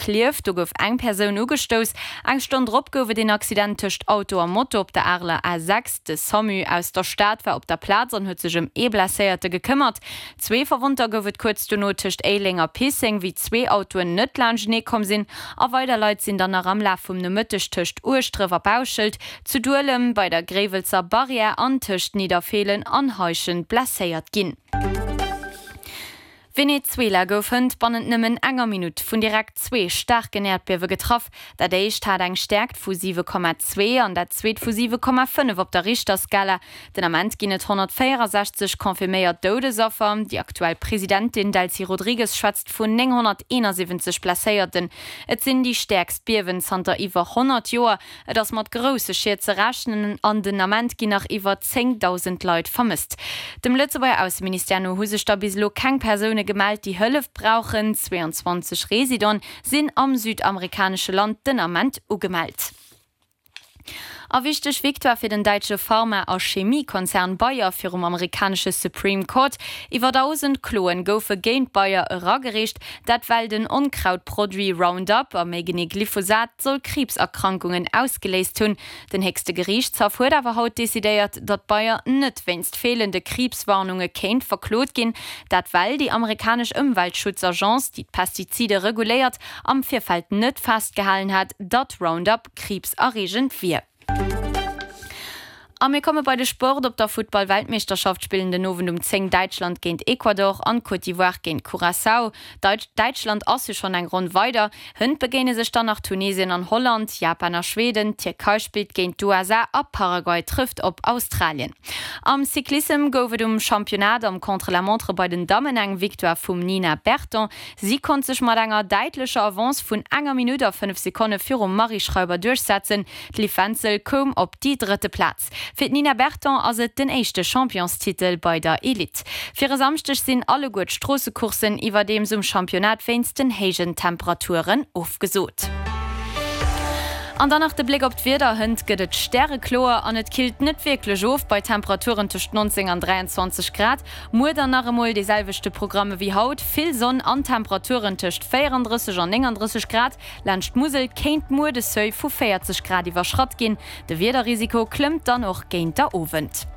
Klierf, do gouf eng Persoun ugestouss. Eng Stonn drop gouf et een Accident tëscht Auto a Moto op der Areler A6. De Samu aus der Stad war op der Plaz an huet sech ëm ee Blesséierte gekëmmert. Zwee Verwonnter gouf et kuerz dono tëscht Éileng a Pisseng, wéi zwee Autoen net laanschtenee komm sinn. A weider Leit sinn dann nach am Laf vum Nomëtteg tëscht Ueschdref a Bauschelt, zu Duelem, bei der Gréiwelzer Barrière an tëscht Nidderfeelen an Heischent blesséiert ginn. Venezuela gouf hënt bannent nëmmen enger Minutt vun direkt zwee staarken Äerdbiewe getraff. Dat éischt hat eng Stäerkt vu 7,2 an dat zweet vu 7,5 op der Richterskala. Den Ament ginn et 164 confirméiert Doudesaffer. Déi aktuell Presidentin Delcy Rodrigues schwätzt vun 971 Blesséierten. Et sinn déi stäerkst Biewen zanter iwwer 100 Joer. Et ass mat grousse Schied ze rechnen an den Ament ginn nach iwwer 10.000 Leit vermësst. Dem Lëtzebuerger Ausseministère no hu sech der bis elo keng Persoune gemellt, déi Hëllef brauchen. 22 Residenten sinn am südamerikanesche Land den Ament ugemellt. A wichteg Victoire fir den däitsche Pharma a Chemiekonzern Bayer virum amerikanesche Supreme Court. Iwwer 1.000 Kloen goufe géint Bayer eragereecht. Dat well den Onkrautproduit Roundup, a méi genee Glyphosat, soll Kriibserkrankungen ausgeléist hunn. Den héchste Geriichtshaff huet awer haut decidéiert, datt Bayer net wéinst feelende Kriibswarnunge kéint verklot ginn. Dat well déi amerikanesch Ëmweltschutzagence, déi d'Pestizide reguléiert, am Virfeld net festgehalen hat, datt Roundup kriibserreegend wier. A mir komme bei de Sport. Op der Futtball-Weltmeeschterschaft spillen den Owend um 10 Däitschland géint Ecuador an Côte d'Ivoire géint Curaçao. Däitschland ass jo schonn eng Ronn weider. Hënt begéine sech dann nach Tunesien an Holland, Japan a Schweden, d'Tierkei spillt géint d'USA a Paraguay trëfft op Australien. Am Cyclissem gouf et um Championnat am Contre-la-montre bei den Dammen eng Victoire vum Nina Berton. Si konnt sech mat enger däitlecher Avance vun enger Minutt a 5 Sekonne virum Marie Schreiber duerchsetzen. D'Liv Wenzel koum op déi drëtte Plaz. Fir d'Nina Berton ass et den éischte Championstitel bei der Elite. Fir e Samschdeg sinn alleguer d'Stroossecourssen iwwerdeems um Championnat wéinst den héijen Temperaturen ofgesot. An dann nach de Bléck op d'Wieder, Hënt gëtt et stärekloer an et killt net wierklech of bei Temperaturen tëscht 19 an 23 Grad. Muer dann nach emol dee selwechte Programm ewéi haut, vill Sonn an Temperaturen tëscht 34 an 39 Grad. Laanscht d'Musel kéint muer de Seuil vu 40 Grad iwwerschratt ginn. De Wiederrisiko klëmmt dann och géint der Owend.